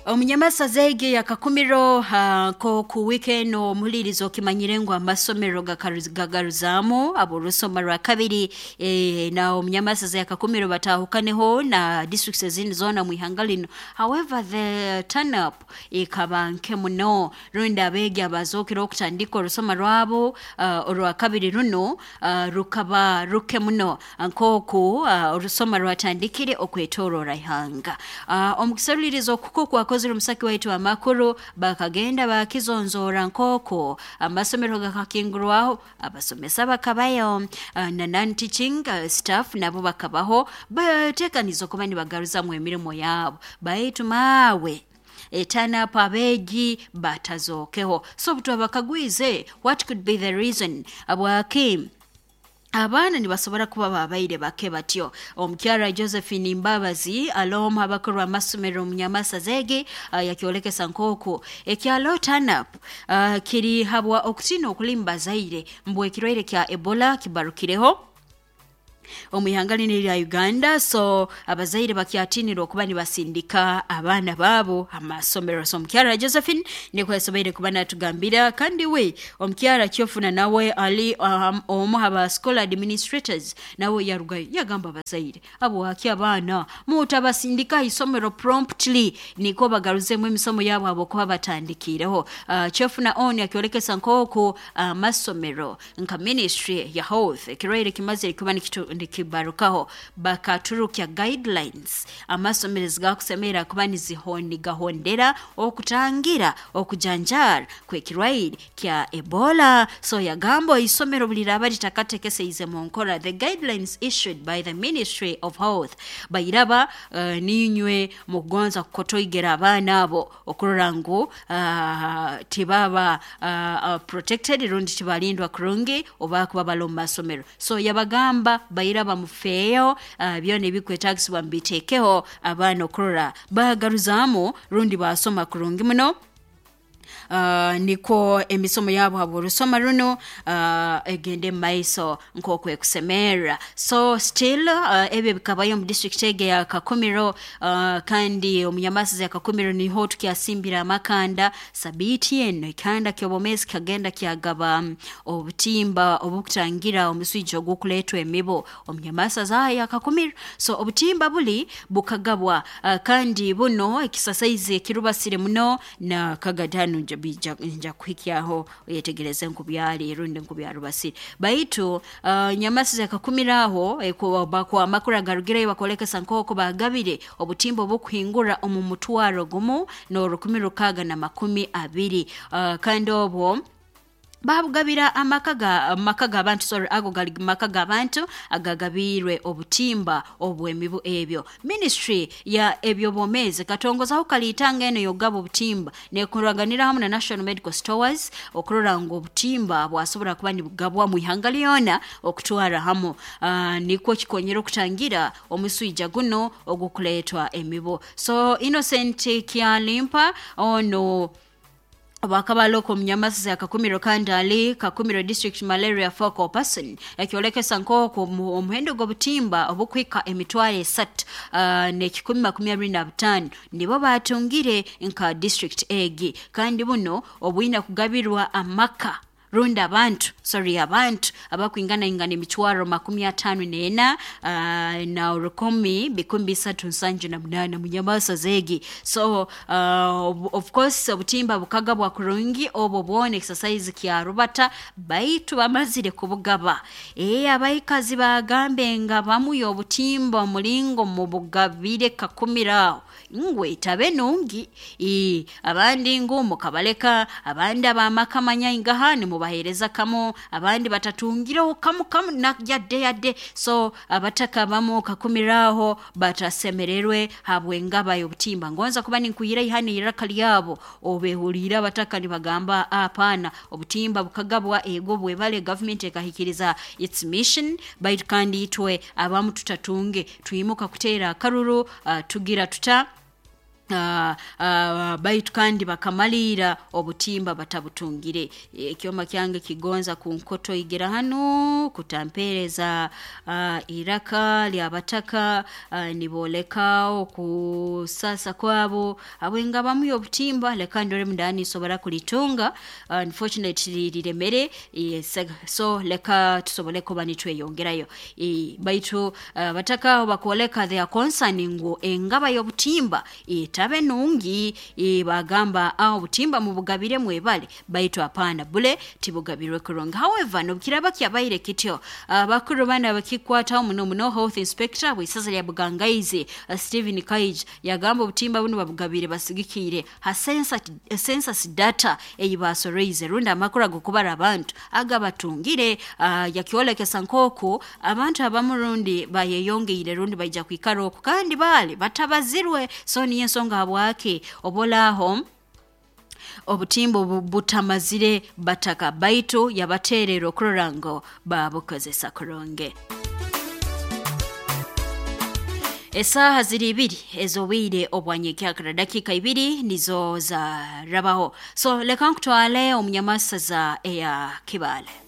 Omunyamasaza egi yakakumiro nkoku wiiki eno omuhuliriza okimanyire ngu amasomero gagaruzaamu ab'orusoma rwa kabiri na omunyamasaza yakakumiro bataahukaneho na districts ezindi zoona mu ihanga linu. However, the turn up ekaba nke muno, rundi abeegi abazookere okutandika orusoma rwabo orwa kabiri runo rukaba ruke muno nk'oku orusoma rwatandikire okwetoroora ihanga. Omu kuseruliiriza okuko kwakozire omusaki waitu amakuru, bakagenda bakizonzoora nk'oku amasomero gakakingurwaho, abasomesa bakabayo, na non teaching staff nabo bakabaho bateekaniza okuba nibagaruzamu emirimo yabo, baitu maawe etanapu abeegi batazookeho. So obu twabakagwize, what could be the reason habwaki abaana nibasobora kuba babaire bake batyo? Omukyara Josephine Mbabazi aloomu abakuru amasomero omunyamasaza egi yakyolekesa nk'oku ekyalo turn-up kiri habwa okutiina okuli mu bazaire mbu ekirwaire kya Ebola kibarukireho omu ihanga linu erya Uganda, so abazaire bakyatiinire okuba nibasindika abaana baabo amasomero. So omukyara Josephine nikwo yasoboire kuba natugambira. Kandi we omukyara Kyofuna nawe ali omu haba school administrators, nawe yarugayo yagamba abazaire, habwaki abaana mutabasindika isomero promptly nikwo bagaruzemu emisomo yabo habwokuba batandikiireho? Kyofuna on akyolekesa nk'oku amasomero nka ministry ya health, ekirwaire kimazire kuba nikibarukaho, bakaturukya guidelines amasomero ezigakusemerra kuba nigahondera okutangira okujanjaara kw'ekirwaire kya Ebola. So yagamba isomero buli liraaba litakatekeseize mu nkora the guidelines issued by the Ministry of Health, bairaba niinywe mukugonza kukotoigera abaana abo okurora ngu tibaba protected rundi tibalindwa kurungi oba kuba bali omu masomero. So yabagamba bairaba mufeeyo, byona ebikwetaagisibwa mubiteekeho abaana okurora bagaruzaamu rundi basoma kurungi muno, nikwo emisomo yabo habw'orusoma runo egende mu maiso nk'oku ekusemerra. So still ebyo bikabayo omu district egi eya Kakumiro, kandi omunyamasaza ya Kakumiro niho tukyasimbire amakanda. Sabiiti enu ekihanda ky'obwomeezi kikagenda kyagaba obutimba obukutangira omuswija ogw'okuleetwa emibu omunyamasaza ya Kakumiro. So obutimba buli bukagabwa, kandi buno ekisasaizi ekirubasire muno na kagatano nja kuhikyaho oyetegereze nkubyali rundi nkubyarubasire. Baitu nyamasiza yakakumira aho amakuru agarugireyo bakolekesa nk'oku bagabire obutimba obukuhingura omu 1620, kandi obwo babugabira amaka g'abantu, sorry, ago gali maka g'abantu agagabiirwe obutimba obw'emibu ebyo. Ministry ya ebyobwomeezi katongozaho kaliitanga eno yogaba obutimba nekuraganira hamu na National Medical Stores okurora ngu obutimba bwasobora kuba nibugabwa mu ihanga lyona okutwara hamu, nikwo kikonyera okutangira omuswija guno ogukuleetwa emibu. So Innocent Kyalimpa ono bakaba aloko omunyamasiza Kakumiro kandi ali Kakumiro District Malaria Focal Person ekyolekesa nk'oku omuhendo gw'obutimba obukuhika 325 nibo batungire nka district egi, kandi buno obwina kugabirwa amaka rundi abantu, sorry, abantu abakwingana ingana 543 na 1378 munyamasaza egi. So of course obutimba bukagabwa kurungi, obwo bwona exercise kya rubata, baitu bamazire kubugaba, abaikazi bagambe nga bamuya obutimba omulingo mubugabire Kakumiro aho ngu etabe nungi, abandi ngu mukabaleka, abandi abamaka manyaingaha nimubaheereza kamu, abandi batatungireho kamu kamu na yadde yadde. So abataka bamu Kakumiro aho batasemererwe habw'engaba y'obutimba. Ngonza kuba ninkuhira ihana iraka lyabo obehuliire abataka nibagamba apaana, obutimba bukagabwa ego bwebale gavumenti ekahikiriza its mission, baitu kandi itwe abamu tutatunge twimuka kuteera akaruru, tugira tuta. Baitu kandi bakamaliira obutimba batabutungire. Ekyoma kyange kigonza kunkotoigera hanu kutampereza iraka lyabataka, nibooleka okusasa kwabo habwengabamu y'obutimba. Leka ndore mundani nsobora kulitunga, unfortunately liremere. So leka tusobole kuba nitweyongerayo. Baitu bataka aho bakwoleka their concern ngu engaba y'obutimba etabe nungi. Bagamba obutimba mubugabire mwebale, baitu hapana, bule tibugabirwe kurungi. However, nobukiraba kyabaire kityo, abakuru bana abakikwataho muno muno, health inspector bw'isaza lya Bugangaizi, Stephen Kaij, yagamba obutimba bunu babugabire basigikiire ha census data eyi basoroize, rundi amakuru ag'okubara abantu agabatungire. Yakyolekesa nk'oku abantu abamu rundi bayeyongeire rundi baija kwikara oku kandi baali batabazirwe. So niyo ensonga habwaki obolaaho obutimba obu butamazire bataka, baitu yabateerera okurora ngu babukozesa kurungi. Esaaha ziri 2 ez'obwire obwanyekyakara, dakiika 2 nizo zarabaho. So leka nkutwale omunyamasaza eya Kibaale.